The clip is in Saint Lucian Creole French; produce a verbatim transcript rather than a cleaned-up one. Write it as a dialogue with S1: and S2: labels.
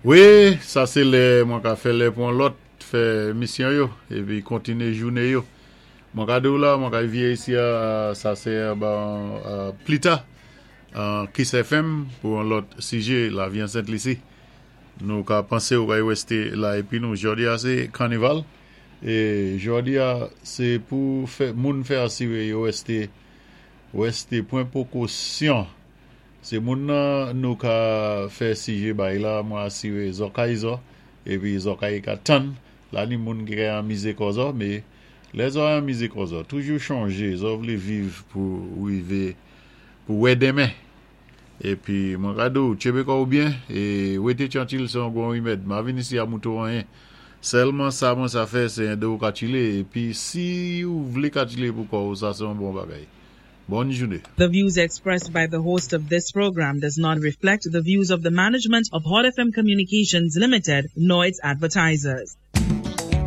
S1: Wi, sa sé lè mwen ka fè lè pou an lòt fè misyon yo épi kontiné jouné yo. Mwen ka di ou la, mwen ka vyé isi a sa sé bon, euh, pli ta Kiss F M pou an lòt sijé Lavi an Sent Lisi. Nou ka pansé ou ka wésté la épi nou jòdi a sé kanival é jòdi a sé pou fè moun fè asiré yo wésté wésté pwan pwékosyon. Sé moun nan nou ka fè sijé bay la mwen asiré zò kay zò épi zò kay ka tann la ni moun ki ka anmizé kò zò, mé lè zò anmizé kò zò, toujou chonjé zò vlé viv pou wivé pou wè denmen. Épi mwen ka di ou tchenbé kò ou byen é wété tyankil sé yon bon wimèd. Ma vin isi a mouto anyen. Sèlman sa mwen sa fè sé édé ou ka tchilé épi si ou vlé ka tchilé pou kò ou sa sé yon bon bagay. Bòn jouné.
S2: The views expressed by the host of this program does not reflect the views of the management of Hot F M Communications Limited nor its advertisers.